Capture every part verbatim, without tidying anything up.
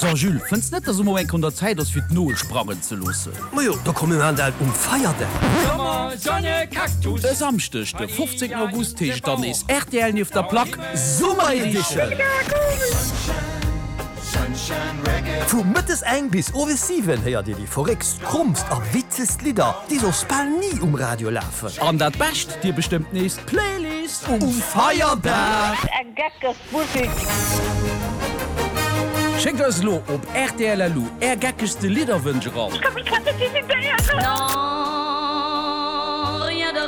So Jules, fënns net, dass et mol eng Kéier un der Zäit ass fir d'Nol sprangen ze loossen? Majo, da komm mir maachen dat um Feierdag. E Samschdeg de fofzéngten August heescht dann nees rtl nieft der Plack Summer Edition! Vu mëttes eng bis owes siwen héiert Dir déi verréckst, krommst a witzegst Lidder, déi soss bal ni um Radio lafen. An dat Bescht, Dir bestëmmt nees d'Playlist um Feierdag! Eng geckeg Musek! Schéckt eis elo op rtl.lu Är geckegste Lidderwënsch eran. Ech ka mech grad net decidéieren.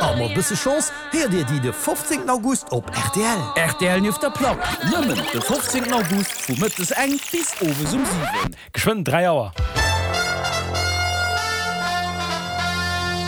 A mat bësse Chance héiert Dir déi de fofzéngten August op rtl. Rtl nieft der Plack, nëmmen de fofzéngten August vu mëttes eng bis owes um siwen. Geschwënn dräi Auer.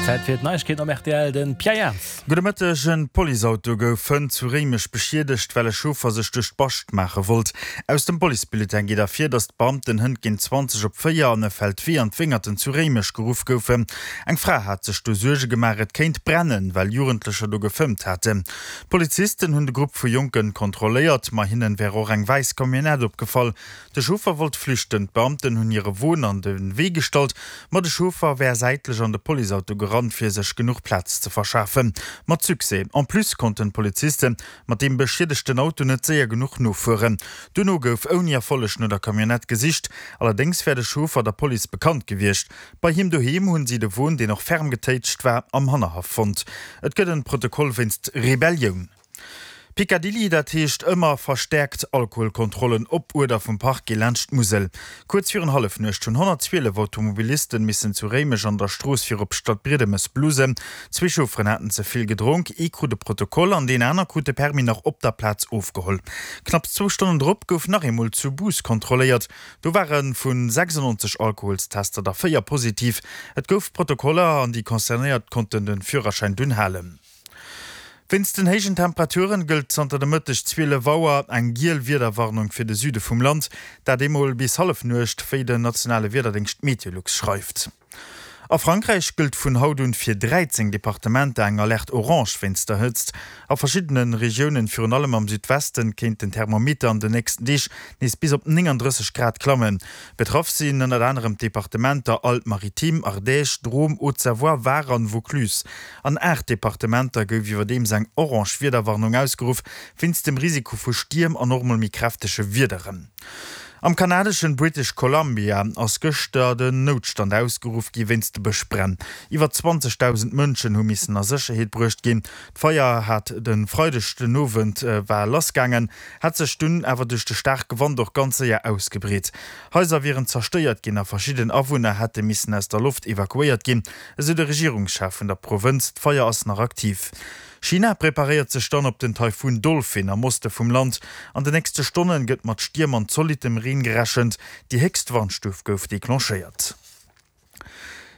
Zäit fir d'Neiegkeeten op rtl, de Pierre Jans. Gudde Mëtteg, En Policeauto gouf fënnt zu Réimech beschiedegt, well e Chauffer sech duerch d'Bascht maache wollt. Aus dem Policebulletin geet ervir, datt d'Beamten hënt géint zwanzeg op véier an e Feldwee an d'Wéngerten zu Réimech geruff goufen. Eng Fra hat sech do Suerge gemaach, et kéint brennen, well Jugendlecher do gefëmmt haten. D'Polizisten hunn de Grupp vu Jonken kontrolléiert, ma hinnen wär och eng wäiss Camionnette opgefall. De Chauffer wollt flüchten, d'Beamten hunn hire Won an de Wee gestallt, ma de Chauffer wär säitlech an de Policeauto gerannt, fir sech genuch Plaz ze verschafen. Mat Succès. En plus konnten d'Poliziste mat deem beschiedegten Auto net séier genuch nofueren. Duerno gouf ouni Erfolleg no der Camionnette gesicht, allerdéngs wär de Chauffer der Police bekannt gewiescht. Bei him doheem hunn si de Won, deen och ferm getéitscht war, am Hannerhaff fonnt. Et gëtt en Protokoll wéinst Rebellioun. Picadilly, dat heescht ëmmer verstäerkt Alkoholkontrollen op Uerder vum Parquet laanscht d'Musel. Kuerz virun Hallefnuecht hunn honnertzwielef Automobilisten missen zu Réimech an der Strooss fir op Stadbriedemes blusen. Zwee Chaufferen haten ze vill gedronk, ee krut e Protokoll an deen aner krut de Permis nach op der Plaz ofgeholl. Knapps zwou Stonnen drop gouf nach eemol zu Bous kontrolléiert. Do ware vu sechsundneunzeg Alkoholstester der véier positiv. Et gouf Protokoller an déi Concernéiert konnten de Führerschäin dunn halen. Wéinst den héijen Temperaturen gëllt zanter de Mëtteg zwielef Auer eng giel Wiederwarnung fir de Süde vum Land, dat eemol bis Hallefnuecht, wéi den nationale Wiederdéngscht Meteolux schreift. A Frankräich gëllt vun haut un fir dräizéng Departementer eng Alerte orange wéinst der Hëtzt. A verschiddene Regiounen, virun allem am Südwesten, kéint den Thermometer an den nächsten Deeg nees bis op nénganddrësseg Grad klammen. Betraff sinn ënnert anerem d'Departementer Alpes-Maritimes, Ardèche, Drôme, Haute-Savoie, Var an Vaucluse. An aacht Departementer gouf iwwerdeems eng orange Wiederwarnung ausgeruff, wéinst dem Risiko vu Stierm an och mol méi kräftege Wiederen. Am kanadeschen British Columbia ass gëschter den Noutstand ausgeruff gi wéinst de Bëschbränn. Iwwer zwanzegdausend Mënschen hu missen a Sécherheet bruecht ginn. D'Feier hat de Freideg den Owend war lassgaangen, hat sech dunn awer duerch de staarke Wand och ganz séier ausgebreet. Haiser wieren zerstéiert ginn a verschidden Awunner hätte missen aus der Loft evakuéiert ginn, esou de Regierungschef vun der Provënz. D'Feier ass nach aktiv. China preparéiert sech dann op den Taifun Dolphin am Oste vum Land. An den nächste Stonne gëtt mat Stierm an zolittem Reen gerechent. Déi héchst Warnstuf gouf declenchéiert.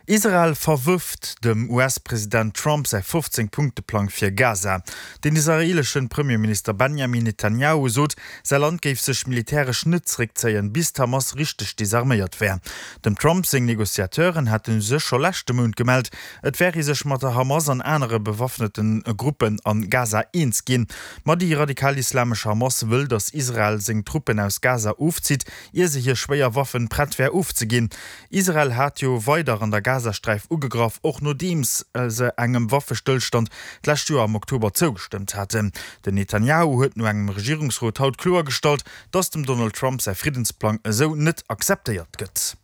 Israel verwërft dem U S-President Trump säi fofzéng Punkte-Plang fir Gaza. Den israeeleschen Premierminister Benjamin Netanjahu sot, säi Land géif sech militäresch net zeréckzéien, bis d'Hamas richteg desarméiert wär. Dem Trump seng Negociateuren hate sech scho leschte Mount gemellt, et wär ee sech mat der Hamas an anere bewaffnete Gruppen a Gaza eens ginn. Ma déi radikal-islamesch Hamas wëll, datt Israel seng Truppen aus Gaza ofzitt, ier se hir schwéier Waffen prett wär ofzeginn. Israel hat jo weider an der Gazasträif ugegraff, och nodeems se engem Waffestëllstand d'lescht Joer am Oktober zougestëmmt haten. Den Netanjahu huet no engem Regierungsrot haut kloergestallt, datt dem Donald Trump säi Friddensplang esou net akzeptéiert gëtt.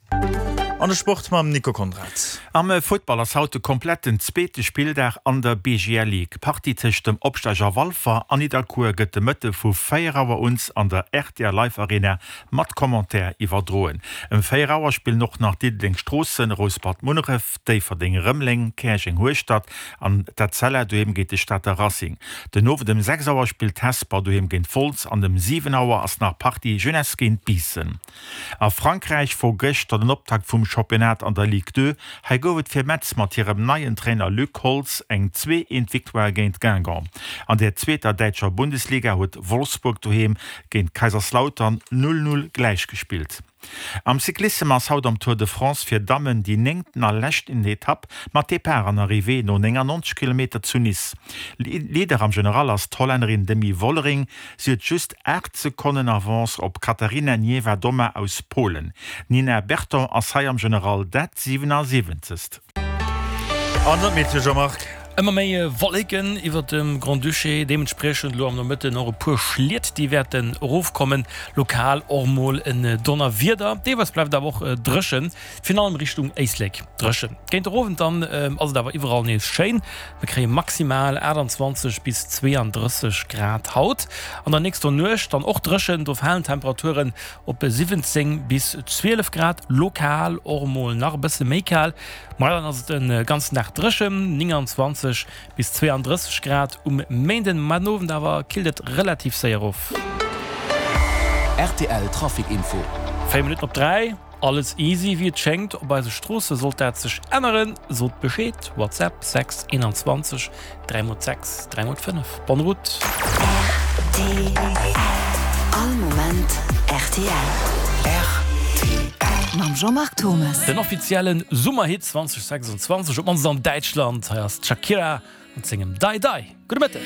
An de Sport mam Nico Conrad. Am Futtball ass haut de kompletten zweete Spilldag an der B G L Ligue. D'Partie tëscht dem Opsteiger Walfer an Nidderkuer gëtt de Mëtte vu véier Auer un an der R T L Live Arena mat Commentaire iwwerdroen. Ëm véier Auer spillen och nach Diddeleng Stroossen, Rouspert Munneref, Déifferdeng Rëmeleng, Käerjeng Hueschtert an d'Etzella doheem géint de Stater Racing. Den Owend ëm sechs Auer spillt Hesper doheem géint Wolz an ëm siwen Auer ass nach Partie Jeunesse géint Biissen. A Frankräich wor gëschter den Optakt vum Championnat an der Ligue deux. Hei gouf et fir Metz mat hirem neien Trainer Luc Holtz eng zwee eent Victoire géint Guingamp. An der zweeter däitscher Bundesliga huet Wolfsburg doheem géint Kaiserslautern null null gläichgespillt. Am Cyclissem ass haut am Tour de France fir Dammen déi néngten a leschten Etapp mat Depart an Arrivée no néngannonzeg Kilometer zu Nice. Leader am General ass d'Hollännerin Demi Vollering, si huet just aacht Sekonnen Avance op d'Katarzyna Niewiadoma aus Polen. D'Nina Berton ass hei am General dat siwenasiwwenzegst. An dat Meteo, Jean-Marc? Ëmmer méi Wolleken iwwert dem Grand-Duché, deementspriechend elo am Nomëtten och e puer Schliet, déi wäerten erofkommen, lokal och mol en Donnerwieder. Deelweis bleift et awer och dréchen, virun allem Richtung Éislek dréchen. Géint de Owend dann ass et awer iwwerall nees schéin, mir kréie maximal aachtanzwanzeg bis zweeandrësseg Grad haut. An der nächster Nuecht dann och dréchen, do falen d'Temperaturen op siwwenzéng bis zwielef Grad, lokal och mol nach e bësse méi kal. Ma dann ass et de ganzen Dag dréchen, neunundzwanzeg bis zweeandrësseg Grad um Méinden. Ma den Owend awer killt et relativ séier of. Rtl Trafic Info. Véier Minutten op dräi, alles easy wéi et schéngt op eise Stroosse. Sollt dat sech änneren, sot Bescheed, WhatsApp sechs einundzwanzeg dräi mol sechs dräi mol fënnef. Bonne route! Rtl, All Moment rtl. Rtl. Mam Jean-Marc Thommes. Den offiziellen Summerhit zweitausendsechsundzwanzeg, op d'mannst an Däitschland. Hei ass d'Shakira mat sengem Dai Dai. Gudde Mëtteg.